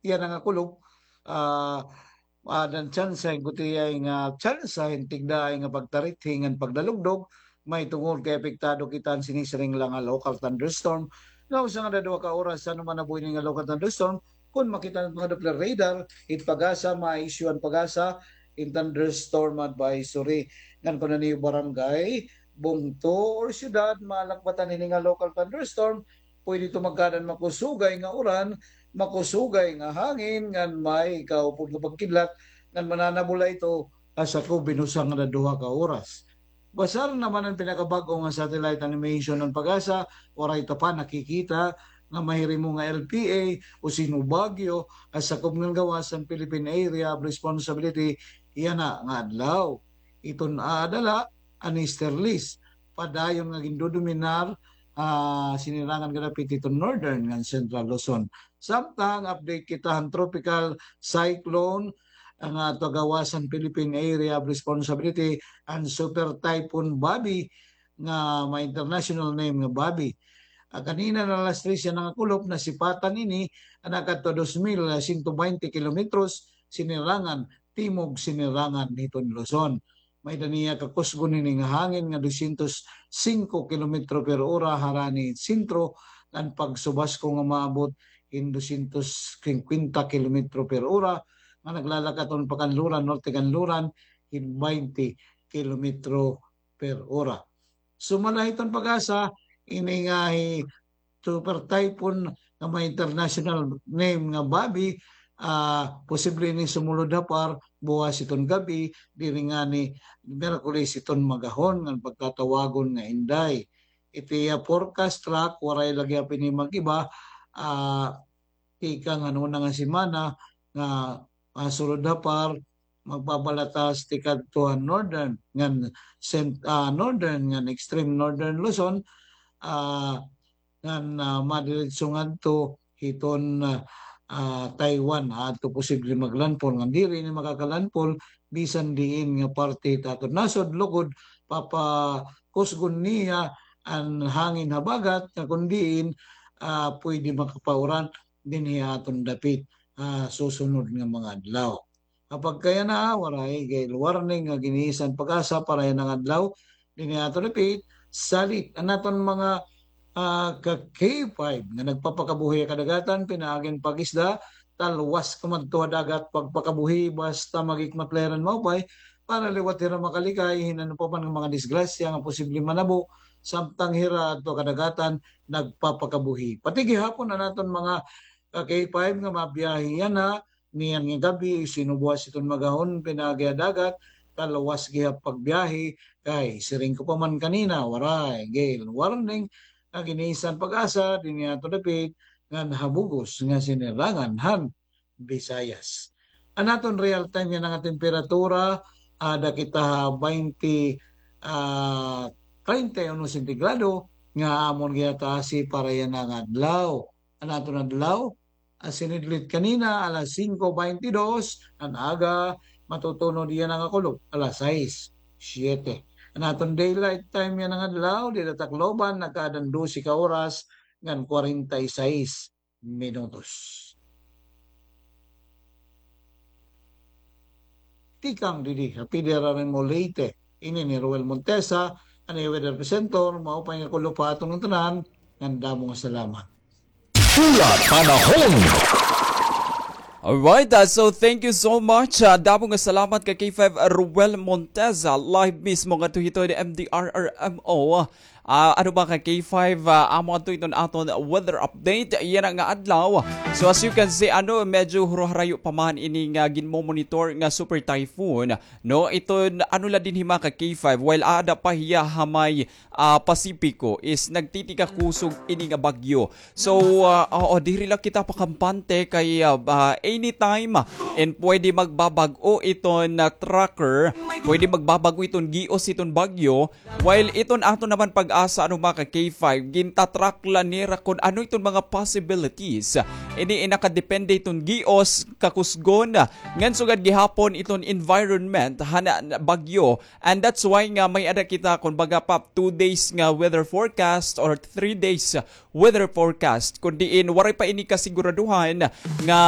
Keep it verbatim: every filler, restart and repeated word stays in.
iya na nga kulop, ah, ah, dan tsansa hin gutiay nga tsansa hin tigdaay nga pagtarithi ngan pagdalugdog, may tungod kay apektado kita han sinisiring la nga local thunderstorm. Nga usa nga duha ka oras, ano man nabuhi ini nga local thunderstorm, kon makita han mga Doppler radar, it PAGASA, ma-issue an PAGASA hin thunderstorm advisory. Ngan kon an iyo barangay, bungto, or syudad, malakbatan hini nga local thunderstorm, pwede ito magkaada hin makusugay nga uran, makusugay nga hangin, ngan may kaupod nga pagkidlat, ngan mananabula ito ha sakob hin usa nga duha ka oras. Basar naman an pinakabag-o nga satellite animation han PAGASA, waray ta pa nakikita nga mahirimo nga L P A o sino bagyo ha sakob ngan gawas han Philippine Area of Responsibility yana nga adlaw. Iton aada la an easterlies, padayon nga gindodominar, ah, sinirangan nga dapit iton northern ngan central Luzon. Samtang update kita han tropical cyclone, ah, nga aada gawas han Philippine Area of Responsibility, an Super Typhoon Bobby, nga may international name nga Bobby. Ah, kanina na alas tres yana nga kulop, nasipatan ini, ah, nakadto dos mil sento baynte kilometros, sinirangan, timog sinirangan hiton Luzon. May-ada niya kakusgon hini nga hangin nga dosyentos singko kilometro per ora harani sentro, ngan pagsubasko nga maabot hin dosyentos singkwenta kilometro per ora, nga naglalakat-on pakanluran, norte kanluran, hin baynte kilometro per ora. Sumala hiton PAGASA, ini nga hi Super Typhoon nga may international name nga Bobby, ah, posible ini sumulod ha PAR buwas hiton gab-i, diri ngani Miyerkules hiton maghapon ngan pagkatawagon nga Inday. Iti, ah, forecast track, waray la gihap ini mag-iba, ah, tikang han una nga semana nga, ah, sulod ha PAR, magbabalata tikadto han northern ngan cent-, ah, northern ngan extreme northern Luzon, ah, ngan, ah, madiretso ngadto hiton, ah, ah, Taiwan, adto posible maglandfall. Ngan diri ini makakalandfall bisan diin nga parte hit aton nasod, lugod papakusgon niya an hangin habagat, nga kon diin, ah, pwede makapauran dinhi ha aton dapit, ah, susunod nga mga adlaw. Kapag kaya na, waray gale warning nga gin-iisyu han PAGASA para yana nga adlaw. Dinhi ha aton dapit, salit an aton mga, ah, ka K five nga nagpapakabuhi ha kadagatan, pinaagi han pag-isda, talwas kumadto ha dagat, pagpakabuhi, basta maghikmat la hira hin maupay, para liwat hira makalikay hin ano pa man nga mga disgrasya nga posible manabo, samtang hira adto ha kadagatan, nagpapakabuhi. Pati gihapon an aton mga ka K five nga mabiyahe yana, niyan nga gab-i, sino buwas hiton maghapon, pinaagi ha dagat, talwas gihap pagbiyahe, kay siring ko pa man kanina, waray gale warning nga gin-iisyu han PAGASA dinhi ha aton dapit ngan ha bug-os nga sinirangan han Visayas. An aton real time yana nga temperatura, aada kita ha baynte, ah, treinta y uno sentigrado, nga amon gihataasi para yana nga adlaw. An aton adlaw, ah, sinidlit kanina, alas singko baynte dos, an aga, matutunod yana nga kulop, alas sais, siyete. An aton daylight time yana nga adlaw, dida Tacloban, nagkaadan dose ka oras ngan kwarenta y sais minutos. Tikang didi ha P D R R M O Leyte, ini ni Roel Montesa, an iyo weather presenter, maupay nga kulop ha aton ngatanan, ngan damo nga salamat. Pula Panahon. Alright, ah, so thank you so much. Ah, damo nga salamat ka K five Roel Montesa, live mismo ngadto hito ni M D R R M O. Ah, ano ba ka K five, ah, amo adto iton aton weather update yana nga adlaw. So as you can see, ano, medyo huruharayo pa man ini nga ginmo-monitor nga super typhoon. No, iton ano la dinhi mga ka K five, while aada pa hiya ha may, ah, Pasipiko, is nagtitigakusog ini nga bagyo. So, ah, oo, diri la kita pakampante kay, ah, ah, anytime, and pwede magbabag-o iton, ah, tracker, pwede magbabag-o iton gios iton bagyo, while iton aton naman PAGASA, ano, mga ka K five, gintatrack la nira kon ano iton mga possibilities. Ini, eh, nakadepende iton gios, kakusgon, ngan sugad gihapon iton environment han bagyo. And that's why nga may-ada kita, kumbaga, pa two days nga weather forecast or three days weather forecast. Kon diin, waray pa ini kasiguraduhan nga